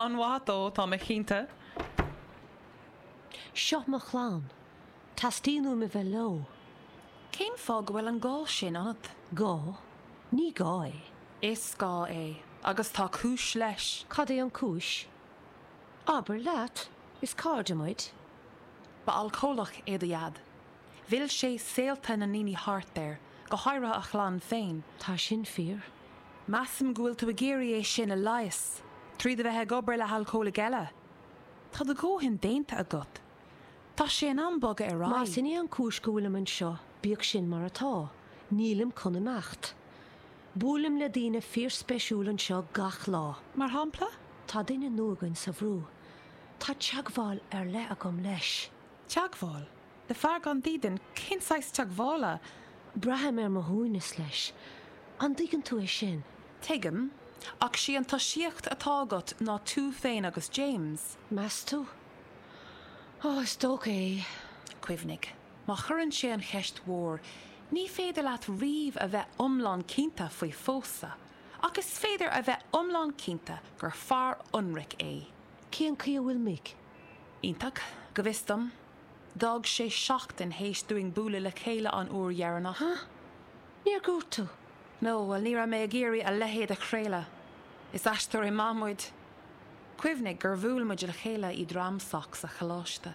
An-mhaith dó, tá mé cinnte. Seo mo chlann. Teastaíonn uaim a bheith leo. Cén fáth go bhfuil an gá sin ionat? Gá? Ní gá é. Is gá é, agus tá cúis leis. Cad é an cúis? Abair leat, is cairde muid. Ba alcólach é do dhaid. Mhill sé saolta na ndaoine thart air, go háirithe a chlann féin. Tá sin fíor. Measaim go bhfuil tú ag iarraidh é sin a leigheas, tríd a bheith ag obair le halcólaigh eile. Tá do dhóthain déanta agat. Tá sé in am bogadh ar aghaidh. Más in é an cúis go bhfuilim anseo, bíodh sin mar atá, nílim chun imeacht. Buailim le daoine fíorspeisiúil anseo gach lá. Mar shampla? Tá duine nua againn sa bhrú. Tá teagmháil ar leith agam leis. Teagmháil? Le fear gan dídean, cén saghas teagmhála? Braithim ar mo shuaimhneas leis. An dtuigeann tú é sin? Tuigim, ach sí an tosaíocht atá agat ná tú féin agus James. Meas tú? Ó, is dócha é. Cuimhnigh, má chuireann sé an cheist mhór, ní féidir leat riamh a bheith iomlán cinnte faoi phósadh, ach is féidir a bheith iomlán cinnte gur fear ionraic é. Cén chaoi a bhfuil Mick? Iontach, go bhfios dom. D'fhág sé seachtain théis dúinn bualadh le chéile an uair dheireanach. Huh? Níor dhúirt tú? No, bhuel ní raibh mé ag iarraidh a leithéid a chraoladh. Is aisteoirí maith muid. Cuimhnigh gur bhuail muid le chéile i DramSoc sa choláiste.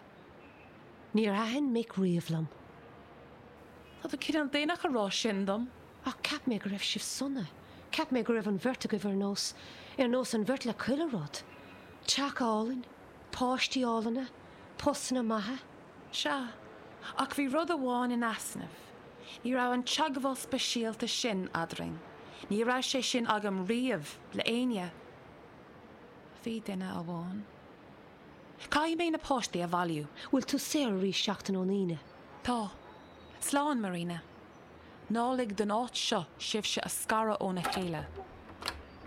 Níor thaitin Mick riamh liom. Tá tú cineál déanach a rá sin dom. Ach cheap mé go raibh sibh sona. Cheap mé go raibh an bheirt agaibh ar nós, ar nós an bheirt le chuile rud. Teach álainn, páistí álainne, postanna maithe. Sea, ach bhí rud amháin in easnamh. Ní raibh an teagmháil speisialta sin eadrainn. Ní raibh sé sin agam riamh le éinne. Bhí duine amháin. Caithfidh mé na páistí a bhailiú. Bhfuil tú saor arís seachtain ón Aoine? Tá. Slán, Marina. Ná lig don áit seo sibhse a scaradh óna chéile.